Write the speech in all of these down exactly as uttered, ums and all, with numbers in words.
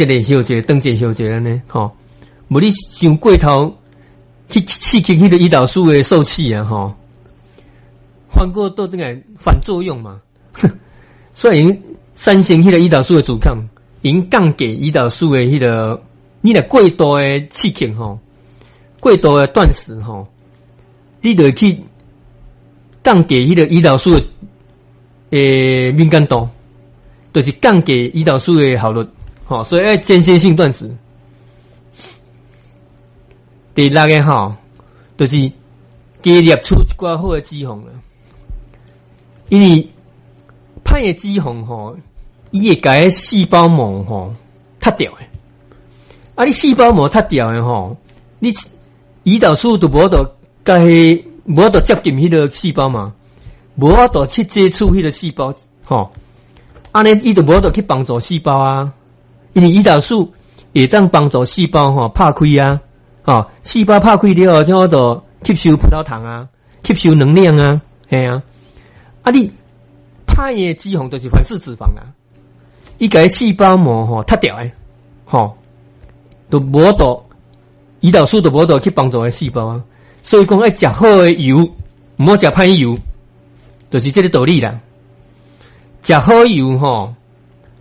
一个歇一下，斷一下歇一下按呢，吼。無你傷過頭去刺激彼個胰島素的受器啊，吼，反過倒轉來反作用嘛。所以產生彼個胰島素的阻抗，𪜶降低胰島素的彼個，你若過度的刺激吼，過度的斷食吼，你就會去降低彼個胰島素的欸敏感度，就是降低胰島素的效率，吼，所以愛間歇性斷食。第六个吼，就是加攝取一寡好的脂肪啦，因為歹的脂肪吼，伊會共彼細胞膜吼脫掉的，啊，你細胞膜脫掉的吼，你胰島素就無法度共彼無法度接近彼個細胞嘛，無法度去接觸彼個細胞，吼，按呢伊就無法度去幫助細胞啊，因為胰島素會當幫助細胞吼拍開啊。吼，細胞拍開了後，才有法度吸收葡萄糖啊，吸收能量啊，嘿啊。啊，你歹的脂肪就是反式脂肪啊，伊共細胞膜吼脫掉的，吼，就無法度胰島素就無法度去幫助彼細胞啊。所以講愛食好的油，毋好食歹油，就是這個道理啦。食好油吼，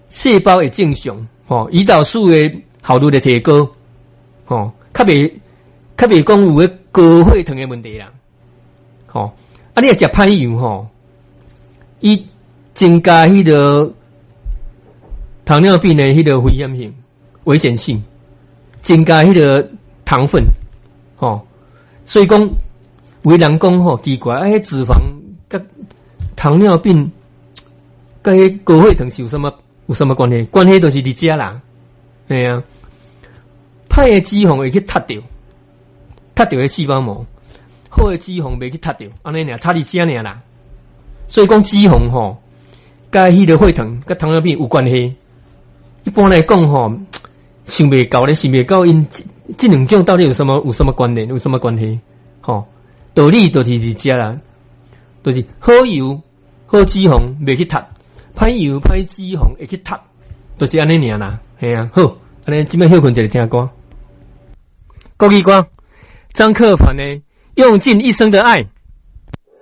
細胞會正常，吼，胰島素的效率會提高，吼。較袂較袂講有彼高血糖的問題啦，吼！啊，你若食歹油吼，伊增加彼個糖尿病的彼個危險性、危險性，增加彼個糖分，吼！所以講，有的人講吼奇怪，啊，彼脂肪佮糖尿病佮彼高血糖是有啥物有啥物關係？關係就是佇遮啦，嘿啊。歹的脂肪會去脫掉，脫掉彼細胞膜；好的脂肪袂去脫掉，按呢爾差佇遮爾啦。所以講脂肪吼，佮彼個血糖、佮糖尿病有關係。一般來講吼，想袂到咧，想袂到𪜶這兩種到底有啥物有啥物關聯，有啥物關係？吼，道理就是佇遮啦，就是好油、好脂肪袂去脫，歹油、歹脂肪會去脫，就是按呢爾啦。嘿啊，好，按呢這擺歇睏一下聽歌。國語歌，張克凡的《用盡一生的愛》。